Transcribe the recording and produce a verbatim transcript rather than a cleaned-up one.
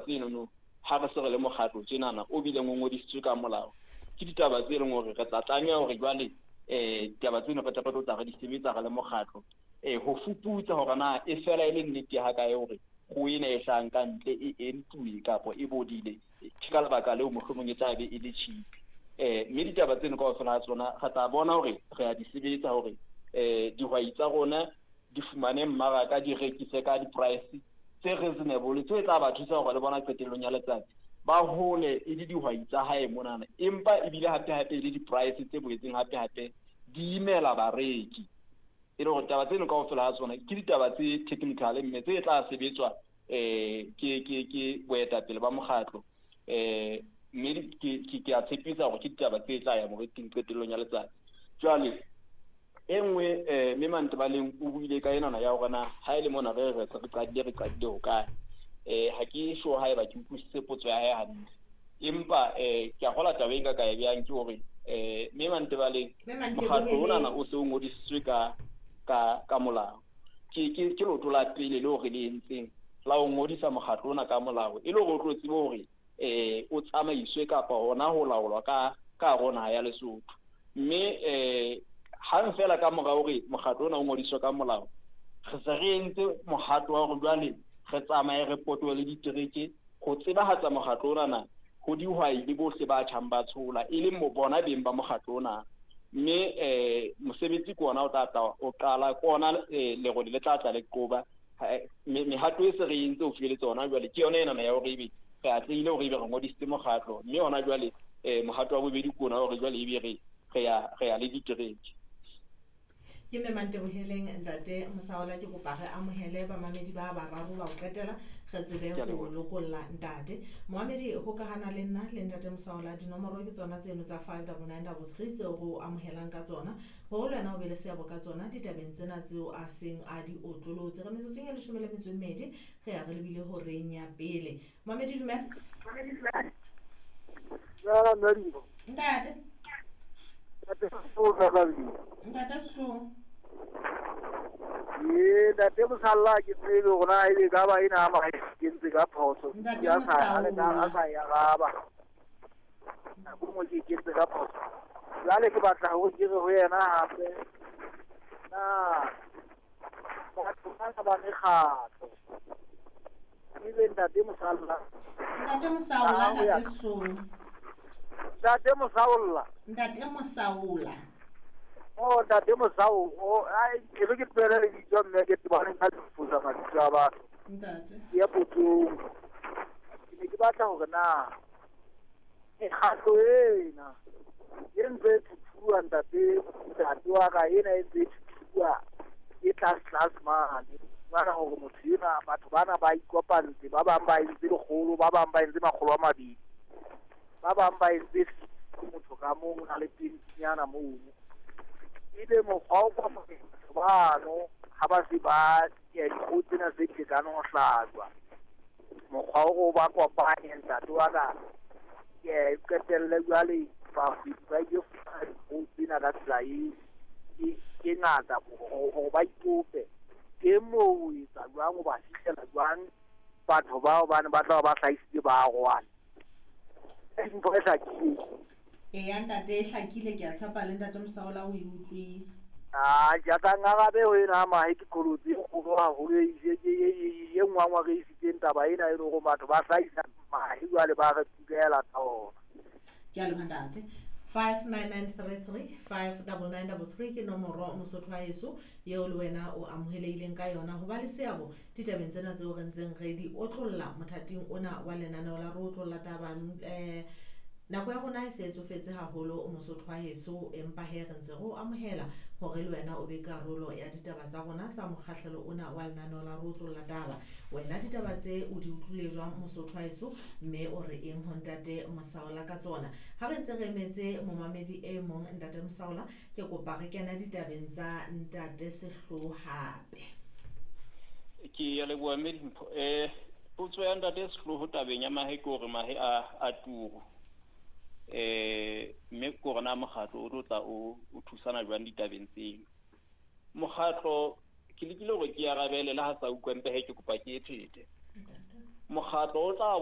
ditaba tsenono ha re se re le mokgatlo tjenana o bileng o ngodisitswe ka molao, ke ditaba tse leng hore re tla tlameha hore jwale eh ditaba tseno re tla re tlo tla re di sebetsa re le mokgatlo eh ho fuputsa hore na e fela e le nnete ha kae hore kgoho ena e hlahang ka ntle e entuwe kapa e bodile, ke ka lebaka leo mohlomong e tla be e le cheap. Eh mme ditaba tseno kaofela ha tsona re tla bona hore re a di sebetsa hore eh dihwai tsa rona di fumane mmaraka, di rekise ka di-price tse reasonable tse tla ba thusa hore le bona qetellong ya letsatsi ba hole e le dihwai tsa hae monana, empa ebile hape hape e le di-price tse boetseng hape hape di imela bareki. E le hore taba tseno kaofela ha tsona ke ditaba tse technical mme tse tla sebetswa eh ke ke ke boetapele ba mokgatlo eh mme ke ke ke a tshepisa hore ke ditaba tse tla ya moriting qetellong ya letsatsi. Jwale e nngwe eh mme Mantebaleng o buile ka enana ya hore na ha e le mona re re re qadile re qadile hokae. Eh ha ke sure haeba ke utlwisise potso ya hae hantle, empa eh ke a kgola taba e nka ka e behang ke hore eh mme Mantebaleng mokgatlo onana o se o ngodisitswe ka ka ka molao. Ke ke ke leoto la pele leo re le entseng la ho ngodisa mokgatlo ona ka molao, e le hore o tlo tsebe hore eh o tsamaiswe kapa hona ho laolwa ka ka hare ho naha ya Lesotho. Mme eh hang fela ka mora hore mokgatlo ona o ngodiswe ka molao, re se re entse mohato wa hore jwale re tsamaye re potolohe le ditereke ho tsebahatsa mokgatlo onana ho dihwai le bohle ba tjhang ba tshola, e leng bona beng ba mokgatlo ona. Mme eh mosebetsi ke ona o tla tla o qala, ke ona lerole le tla tla le qoba. Mehato e se re entse ho fihletse hona jwale ke yona enana ya hore ebe re atlehile hore ebe re ngodisitse mokgatlo, mme hona jwale eh mohato wa bobedi ke ona hore jwale ebe re re ya re ya le ditereke. Ke mme Manteboheleng ntate Mosaola, ke kopa re amohele bamamedi ba bararo ba ho qetela re tsebe ho lokolla ntate. Moamedi hokahana le nna le ntate Mosaola, dinomoro ke tsona tseno tsa five double nine double three tseo re o amohelang ka tsona, hore le wena o be le seabo ka tsona ditabeng tsena tseo a seng a di otlolotse. Re metsotsong e leshome le metso e mmedi re ya re lebile horeng ya pele. Moamedi dumela. Ntate. Ntate Sehloho. Ee, ntate Mosalla ke tsebe hore na ebe ka ba ena ama ke ntse ka phoso. Ntate Ya sa le Mosaola. a sa ya raba. Nako nngwe ke kentse ka phoso. Jwale ke batla hore ke re ho yena hape. Na batho bana ba mekgatlo. Ebe ntate Mosalla. Ntate Mosaola, Ah, ho ya ntate Sehloho. Ntate Mosaola. Ntate Mosaola. Oh, ntate Mosao, oh, ai, ke re ke tlohele lebitso mme ke tsebane ka difosa mabitso a batho. Ntate. Ke ya potsong. Ke ne ke batla hore na mekgatlo ena e ntse e thuthuwa ntate, ntate wa ka ena e ntse e thuthuwa e tlase tlase mane. Fumana hore motho enwa, batho bana ba ikopantse, ba bang ba entse lekgolo, ba bang ba entse makgolo a mabedi, ba bang ba entse motho ka mong o na le twentynyana mono. Ebe mokgwa o kopanya batho bano ha ba se ba ya dikgoho tsena tse qetang ho hlajwa, mokgwa o o ba kopanye ntate wa ka, ke qetelle jwale bahwebi ba ile fumana dikgoho tsena ka tsela e e e ngata hore ba ipope. Teng moo o etsa jwang, o ba fihlela jwang batho bao bane ba tla ba hlahisitse ba arohane. Ntho e hlakileng. Eya ntate e hlakile, ke a tshepa le ntate Mosaola o e utlwile. Ah, ke tla ngarabe ho ena mahe ke qholotse e kgolo haholo e e e e e nngwe re isitseng taba ena e le hore batho ba hlahisa mahe jwale ba re tukela ka ona. Ke a leboha ntate. five nine nine three three five double nine double three ke nomoro Mosotho wa heso eo le wena o amohelehileng ka yona ho ba le seabo ditabeng tsena tseo re ntseng re di otlolla mothating ona wa lenaneo la re otlolla taba. Eh nako ya rona e se e tsofetse haholo Mosotho wa heso, empa he re ntse re o amohela hore le wena o be karolo ya ditaba tsa rona tsa mokgahlelo ona wa lenaneo la re otlolla taba. Wena ditaba tse o di utlwile jwang Mosotho wa heso, mme o re eng ho ntate Mosaola ka tsona? Ha re ntse re emetse momamedi e mong ntate Mosaola, ke kopa re kena ditabeng tsa ntate Sehloho hape. Ke a leboha mme Dimpho. Eh potso ya ntate Sehloho tabeng ya mahe ke hore mahe a a turu. Eh mme ke hore na mokgatlo o tlo tla o o thusana jwang ditabeng tseo. Mokgatlo ke lekile hore ke arabele le ha sa utlwe mpe he ke kopa ke e phete. Mokgatlo o tla